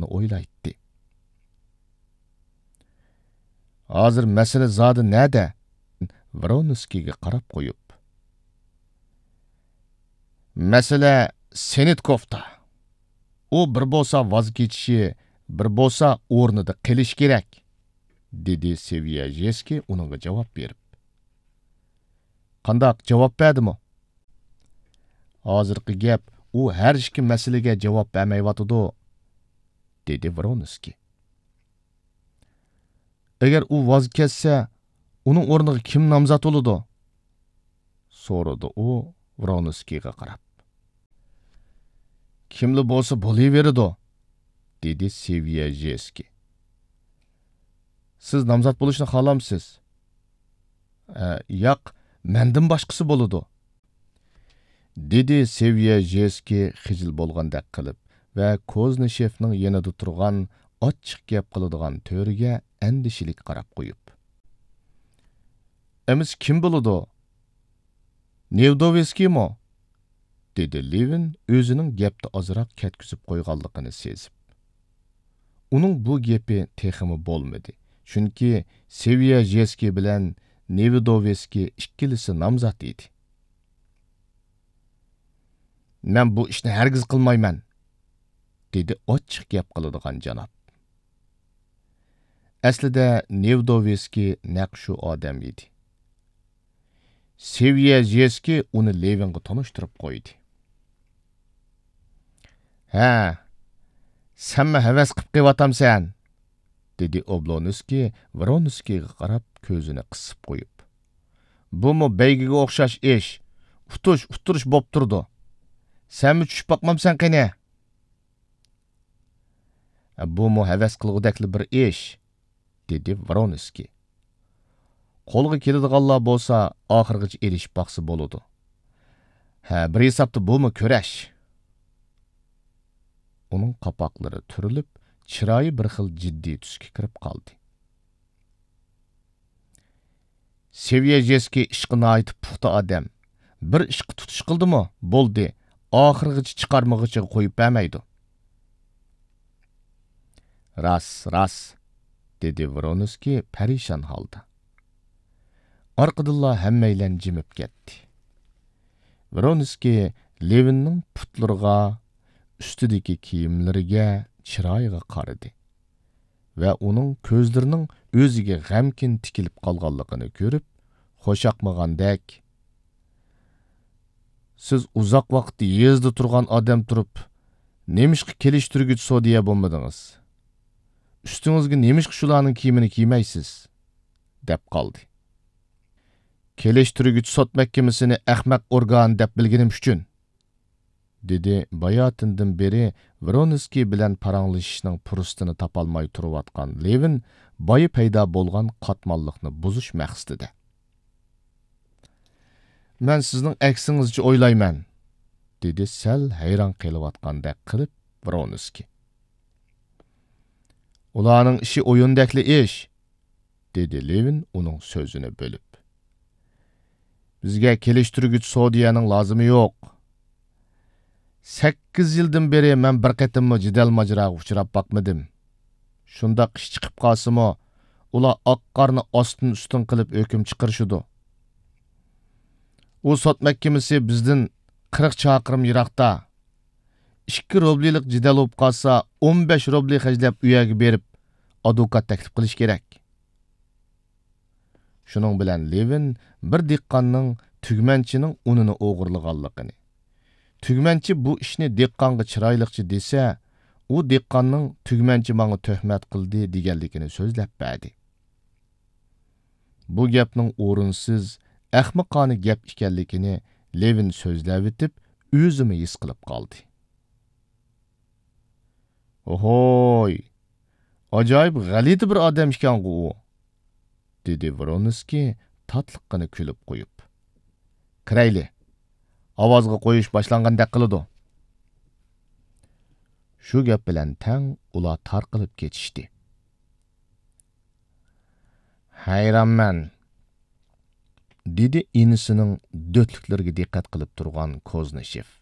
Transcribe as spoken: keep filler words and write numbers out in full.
قىلىشنى ئويلايتتى. ھازىر مەسىلە زادى نەدە؟ ۋرونسكىيگە قاراپ قويۇپ. مەسىلە سېنىتكوفتا. ئۇ بىر بولسا ۋاز كېچىشى، بىر بولسا ئورنىدا قېلىشى كېرەك، دېدى سېۋيەژېسكىي ئۇنىڭغا جاۋاب بېرىپ. قانداق، جاۋاب بەردىمۇ؟ ھازىرقى گەپ، ئۇ ھەر ئىككى مەسىلىگە جاۋاب بەرمەيۋاتىدۇ، دېدى ۋرونسكىي. ئەگەر ئۇ ۋاز كەچسە، ئۇنىڭ ئورنىغا كىم نامزات بولىدۇ؟ سورىدى ئۇ ۋرونسكىيغا قاراپ. كىملا بولسا بولۇۋېرىدۇ، دېدى سېۋيەژېسكىي. سىز نامزات بولۇشنى خالامسىز؟ ئە، ياق، مەندىن باشقىسى بولىدۇ، دېدى سېۋيەژېسكىي خىجىل بولغاندەك قىلىپ ۋە كوزنىشېفنىڭ يېنىدا تۇرغان ئاچچىق گەپ قىلىدىغان تۆرىگە ئەندىشىلىك قاراپ قويۇپ. ئەمىسە كىم بولىدۇ؟ نېۋدوۋېسكىيمۇ؟ دېدى لېۋىن ئۆزىنىڭ گەپتە ئازراق كەتكۈزۈپ قويغانلىقىنى سېزىپ. ئۇنىڭ بۇ گېپى تېخىمۇ بولمىدى، چۈنكى سېۋيەژېسكىي بىلەن نېۋدوۋېسكىي ئىككىلىسى نامزات ئىدى. مەن بۇ ئىشنى ھەرگىز قىلمايمەن، دېدى ئاچچىق گەپ قىلىدىغان جاناب. ئەسلىدە نېۋدوۋېسكىي نەق شۇ ئادەم ئىدى. سېۋيەژېسكىي ئۇنى لېۋىنغا تونۇشتۇرۇپ قويدى. ھە، سەنمۇ ھەۋەس قىپ قېلىۋاتامسەن؟ دېدى ئوبلونسكىي ۋرونسكىيغا قاراپ كۆزىنى قىسىپ قويۇپ. بۇمۇ بەيگىگە ئوخشاش ئىش. ئۇتۇش، ئۇتتۇرۇش بوپ تۇرىدۇ. سەنمۇ چۈشۈپ باقمامسەن قېنى؟ بۇمۇ ھەۋەس قىلغۇدەكلا بىر ئىش، دېدى ۋرونسكىي. قولغا كېلىدىغانلار بولسا ئاخىرغىچە ئېلىشىپ باقسا بولىدۇ. ھە، بىر ھېسابتا بۇمۇ كۈرەش. ئۇنىڭ قاپاقلىرى تۈرۈلۈپ، چىرايى بىر خىل جىددىي تۈسكە كىرىپ قالدى. سېۋيەژېسكىي ئىشقا ناھايىتى پۇختا ئادەم. بىر ئىشقا تۇتۇش قىلدىمۇ، بولدى، ئاخىرغىچە چىقارمىغۇچىغا قويۇپ بەرمەيدۇ. راست، راست، دېدى ۋرونسكىي پەرىشان ھالدا. ئارقىدىنلا ھەممەيلەن جىمىپ كەتتى. ۋرونسكىي لېۋىننىڭ پۇتلىرىغا، ئۈستىدىكى كىيىملىرىگە، چىرايىغا قارىدى. ۋە ئۇنىڭ كۆزلىرىنىڭ ئۆزىگە غەمكىن تىكىلىپ قالغانلىقىنى كۆرۈپ، خۇشياقمىغاندەك، سىز ئۇزاق ۋاقىت يېزىدا تۇرغان ئادەم تۇرۇپ، نېمىشقا كېلىشتۈرگۈچ سودىيە بولمىدىڭىز؟ ئۈستىڭىزگە نېمىشقا شۇلارنىڭ كىيىمىنى كىيمەيسىز؟ دەپ قالدى. كېلىشتۈرگۈچ سوت مەھكىمىسىنى ئەخمەق ئورگان دەپ بىلگىنىم ئۈچۈن. دېدى باياتىندىن بېرى ۋرونسكىي بىلەن پاراڭلىشىشنىڭ پۇرسىتىنى تاپالماي تۇرۇۋاتقان لېۋىن بايا پەيدا بولغان قاتماللىقنى بۇزۇش مەقسىتىدە. مەن سىزنىڭ ئەكسىڭىزچە ئويلايمەن، دېدى سەل ھەيران قېلىۋاتقاندەك قىلىپ ۋرونسكىي. ئۇلارنىڭ ئىشى ئويۇندەكلا ئىش، دېدى لېۋىن ئۇنىڭ سۆزىنى بۆلۈپ. بىزگە كېلىشتۈرگۈچ سودىيەنىڭ لازىمى يوق. سەككىز يىلدىن بېرى مەن بىر قېتىممۇ جېدەل ماجىراغا ئۇچراپ باقمىدىم. شۇنداق ئىش چىقىپ قالسىمۇ، ئۇلار ئاق قارنى ئاستىن ئۈستۈن قىلىپ ھۆكۈم چىقىرىشىدۇ. ئۇ سوت مەھكىمىسى بىزدىن قىرىق چاقىرىم يىراقتا. ئىككى روبلىلىق جېدەل بولۇپ قالسا، ئون بەش روبلى خەجلەپ ئۇ يەرگە بېرىپ، ئادۋوكات تەكلىپ قىلىش كېرەك. شۇنىڭ بىلەن لېۋىن بىر دېھقاننىڭ تۈگمەنچىنىڭ ئۇنىنى ئوغرىلىغانلىقىنى، تۈگمەنچى بۇ ئىشنى دېھقانغا چىرايلىقچە دېسە، ئۇ دېھقاننىڭ تۈگمەنچى ماڭا تۆھمەت قىلدى دېگەنلىكىنى سۆزلەپ بەردى. بۇ گەپنىڭ ئورۇنسىز، ئەخمىقانە گەپ ئىكەنلىكىنى لېۋىن سۆزلەۋېتىپ، ئۆزىمۇ ھېس قىلىپ قالدى. «ئوھوي، ئاجايىپ غەلىتە بىر ئادەم ئىكەنغۇ ئۇ!» دېدى ۋرونسكىي تاتلىققىنا كۈلۈپ قويۇپ. «كىرەيلى، ئاۋازغا قويۇش باشلانغاندەك قىلىدۇ.» شۇ گەپ بىلەن تەڭ ئۇلار تارقىلىپ كېتىشتى. «ھەيرانمەن»، دېدى ئىنىسىنىڭ دۆتلۈكلىرىگە دىققەت قىلىپ تۇرغان كوزنىشېف.